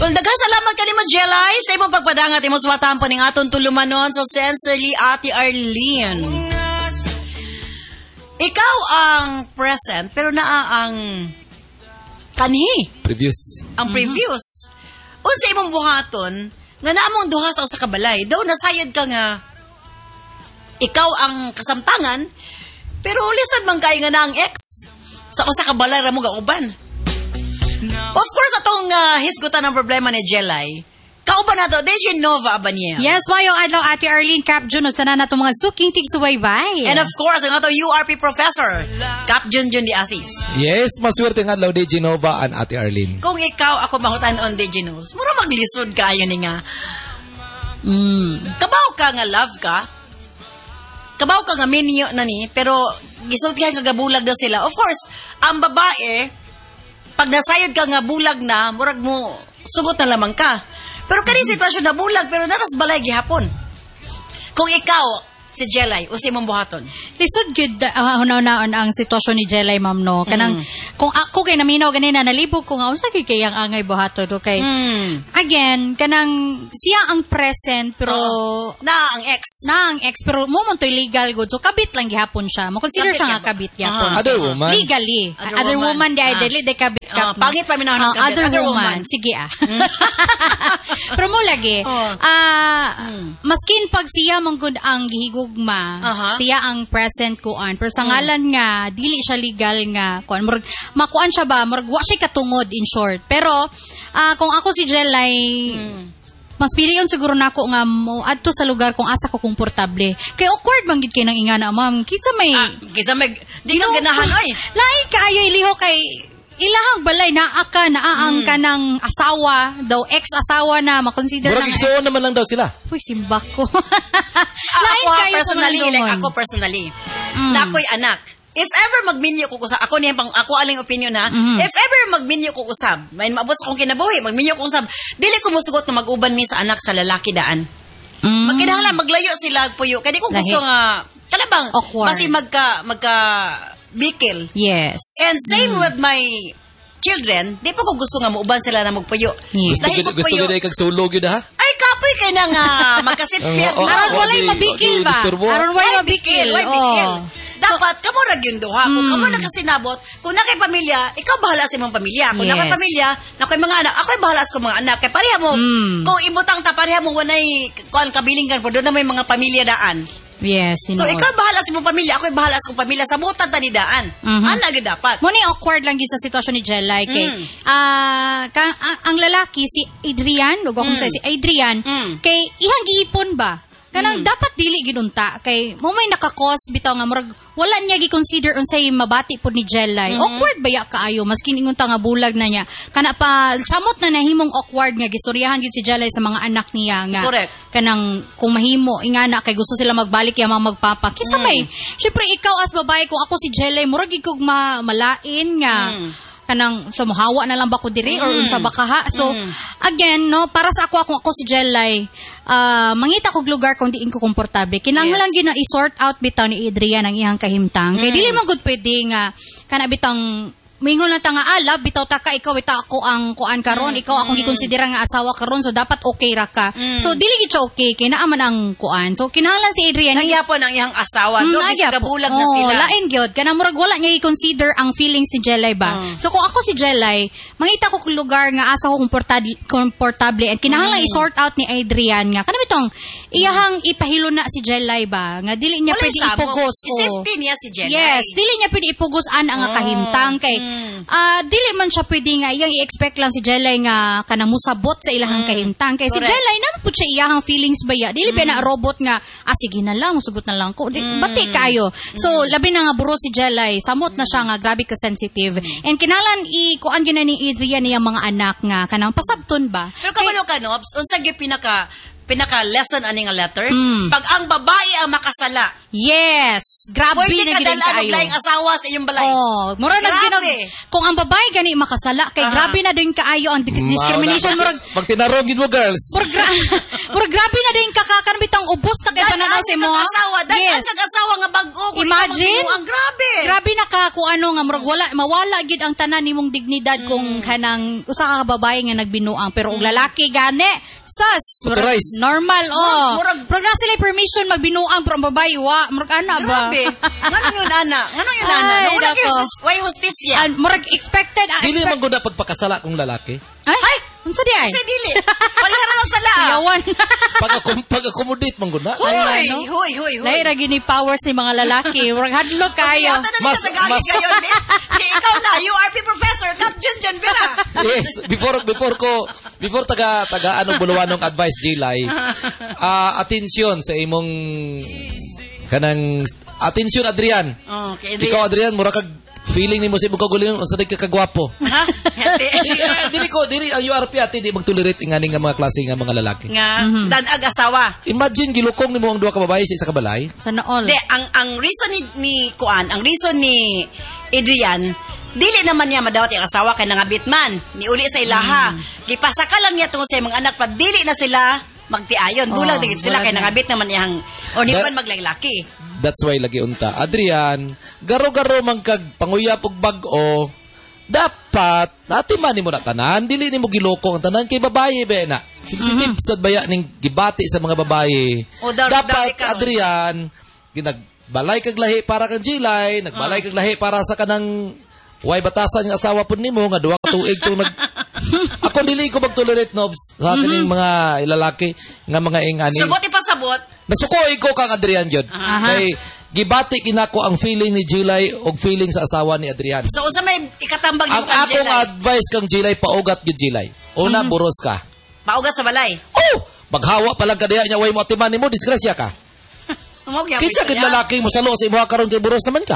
Well, daghang salamat kanimo, Jelay, sa imong pagpadangat, imong suwatahan po ning atong tulumanon sa Sincerely Ate Arlene. Ikaw ang present, pero naa ang kanhi, Previous. Ang previous. Unsa imong buhaton nga naa mong duha sa usa ka balay? Daw nasayod ka nga ikaw ang kasamtangan, pero lisod man kay nga na ang ex sa usa ka balay ra mo gauban. Of course, atong hisgutan ang problema ni Jelay. Kauban nato, DJ Nova Abaniel. Yes, maayong adlaw, Ate Arlene, Cap Junos, tanan nato mga suking tigsubaybay. And of course, ang atong URP professor, Cap Junjun Di Asis. Yes, maswerte nga adlaw, DJ Nova and Ate Arlene. Kung ikaw ako mahutan-on, DJ Nos, mura maglisod kayo ni nga. Kabaw ka nga love ka, kabaw ka nga minyo na ni, pero gisultihan ka gabulag na sila. Of course, ang babae, pag nasayod ka nga bulag na, murag mo, sugot na lamang ka. Pero kani sitwasyon na bulag, pero naras balay gihapon. Kung ikaw, si Jelay, unsay imong buhaton? Lisod gyud hunaw-naon ang sitwasyon ni Jelay, ma'am, no. Kanang kung ako kay naminaw ganina, nalibog ko nga unsa kay kayang angay buhaton do kay again, kanang siya ang present pero Na ang ex. Na ang ex, pero mo man to'y legal good. So kabit lang gihapon siya. Mo consider Kabit siya nga gihapon. kabit gihapon. Other woman. Legally. Other Other woman. woman, di ay dili di kabit Ah, kap. pangit pa minahon ng Ah, kabit. other, Other woman. woman. Sige ah. Pero mo lagi, maskin pag siya man gud ang gihigugma, siya ang present kuan. Pero sa ngalan nga dili siya legal nga kuan. Murag makuan siya ba, murag wa siya katungod in short. Pero kung ako si Jelay, mas pilion siguro nako nga mo adto sa lugar kung asa ko komportable. Kay awkward man gid kay nang ingana, ma'am. Kinsa may Ah, kaysa may, di ka ganahan, oy. Lain kaayo iliho kay ilahang balay naa ka naa ang kanang asawa daw, ex-asawa na makonsider Murag na nga igsuon naman lang daw sila. Uy, simba ko. Ah, Lain ako ha, kayo sa personally, like manlungon. ako personally, na ako'y anak. If ever magminyo ko usab, ako niya pang ako aling opinion ha. If ever magminyo ko usab, may maabot sa akong kinabuhi, magminyo ko usab, dili ko musugot na mag-uban mi sa anak sa lalaki daan. Magkinahanglan maglayo sila puyo. Kay di ko gusto Lahi. nga kalabang Awkward. basi magka magka bikil. And same with my children, di pa ko gusto nga muuban sila na magpuyo. Yes. Gusto Dahil gid gusto pagpuyo- gid kag sulog yun ha. Ay, kapoy kay na nga magkasipyat. Oo, Aron oo, walay mabikil di ba? disturbo. Aron walay Why mabikil. bikil? Why bikil? Oh. Dapat kamo ra gyud duha. Kung kamo nakasinabot, kung na kay pamilya, ikaw bahala sa imong pamilya. Kung na kay pamilya, na kay mga anak, ako'y bahala sa akong mga anak. Kay pareha mo, kung ibutang ta pareha mo walay kuan kabiling kan doon na may mga pamilya daan. Yes, So tinuod. ikaw bahala sa imong pamilya, ako'y bahala sa akong pamilya. Sabutan ta ni daan. Ana gyud dapat. Mo ni awkward lang gyud sa sitwasyon ni Jelay kay ang lalaki si Adrian, ug akong sa si Adrian kay ihang giipon ba? Kanang dapat dili gid unta kay mo may nakakos bitaw nga murag wala niya gi-consider unsay mabati pud ni Jelay. Awkward ba ya kaayo maskin ingon ta nga bulag na niya. Kana pa samot na nahimong awkward nga gistoryahan gyud si Jelay sa mga anak niya nga kanang kung mahimo ingana kay gusto sila magbalik ya mga magpapa. Kinsa may syempre ikaw as babae, kung ako si Jelay, murag gid kog malain nga kanang sa muhawa na lang ba ko diri or unsa ba kaha. So again, no, para sa ako, kung ako si Jelay, mangita kog lugar kung diin ko komportable. Kinahanglan gyud na i-sort out bitaw ni Adrian ang iyang kahimtang kay dili man gud pwede nga kana bitang mingon lang ta nga ah, love bitaw ta ka, ikaw bitaw ako ang kuan karon, ikaw akong gikonsidera nga asawa karon, so dapat okay ra ka. So dili gid siya okay kay naa man ang kuan. So kinahanglan si Adrian Nangyapon ang iyang asawa. Do Nagyapon. bisag kabulag na Oo, sila. Lain gyud. Kanang murag wala niya i-consider ang feelings ni Jelay ba. So kung ako si Jelay, mangita ko kung lugar nga asa ko komportable, komportable and kinahanglan i-sort out ni Adrian nga kanang itong iyahang ipahilo na si Jelay ba nga dili niya Walay pwede samok. ipugos. Oo. I-safety niya si Jelay. Yes, dili niya pwede ipugos an ang kahimtang kay dili man siya pwede nga iyang i-expect lang si Jelay nga kanang musabot sa ilahang kahimtang kay si Jelay naman pud siya iyahang feelings ba ya. Dili ba na robot nga ah sige na lang musugot na lang ko. Di, bati kaayo. So labi na nga buro si Jelay, samot na siya nga grabe ka sensitive. And kinalan i kuan gyud na ni Adrian niyang mga anak nga kanang pasabton ba. Pero kabalo ka, Nobs, unsa gyud pinaka Pinaka lesson ani nga letter. Pag ang babae ang makasala, Yes, grabe pwede na ka gid dalaan og kaayo. laing asawa sa iyong balay. Oh, mura na Grabe. ginog kung ang babae gani makasala kay grabe na din kaayo ang discrimination, murag Pag tinarong gid mo, girls. murag grabe na din kakakan bitang ubos na kay Dahil pananaw ang sa imo. asawa, dahil Yes. ang asawa nga bag-o, kung ikaw Imagine. magbinuang, grabe. Grabe na ka kung ano nga murag wala mawala gid ang tanan nimong dignidad kung kanang usa ka babae nga nagbinuang, pero og lalaki gani, sus, murag Motorized. normal, oh. Murag- Murag na sila permission magbinuang, pero ang babae wa, murag ana ba. Grabe. Nganong yun, ana? Nganong yun, ana? Ay, No, wala kayo nako. why hustisya? Ah, murag expected, Dili expect man gud na pagpakasala kung lalaki. Ay, unsa di ay? Sa dili. Wala ra lang sala. Yawan. Pag accommodate man gud na. Hoy, Ay, ano? hoy, hoy, hoy. Lahi ra gini powers ni mga lalaki. Murag hadlok kayo. Yata na mas, sa gagi kayo. Di, ikaw na, URP professor, Kap Jun Jun Vera. Yes, before taga taga anong buluwanong advice, Jilay. Atensyon sa imong kanang atensyon, Adrian. Okay, Adrian. Ikaw, Adrian, mura kag feeling nimo sa imong kaugalingon unsa di ka kagwapo. Ha? Hete. Di, dili ko dili ang URP ate di magtolerate ingani nga mga klase nga mga lalaki. Nga, danag asawa. Imagine gilukong nimo ang duha ka babae sa isa ka balay. Sana all. Di, ang reason ni Kuan, ang reason ni Adrian, dili naman niya madawat yung asawa kay nangabit man. Niuli sa ilaha. Gipasaka lang niya tungod sa imong anak pa dili na sila magtiayon. Bulag Oh, oh, sila bulag kay na. nangabit naman iyang o ni man maglaglaki. That's why lagi unta. Adrian, garo-garo man kag panguyap og bag-o, dapat ati man nimo na tanan, dili nimo giloko ang tanan kay babaye ba na. Sensitive sad baya ning gibati sa mga babaye. O, Dapat daw ikaw. Adrian, ginagbalay kag lahi para kang Jilay, nagbalay kag lahi para sa kanang way batasan nga asawa pud nimo nga 2 ka tuig tong nag. Ako dili ko magtolerate nobs sa kining mga lalaki nga mga ingani. Sabot ipasabot. Nasuko ko kang Adrian yun. Kay gibati kinako ang feeling ni Jilay og feeling sa asawa ni Adrian. So unsa may ikatambag Ang nimo kang akong Jelay? advice kang Jilay, paugat gyud, Jilay. Una, buros ka. Paugat sa balay. Oh, maghawa pa lang ka diha nya way mo atiman nimo, disgrasya ka. Mao gyapon Kinsa gid siya. lalaki mo salo sa imuha karon kay buros naman ka.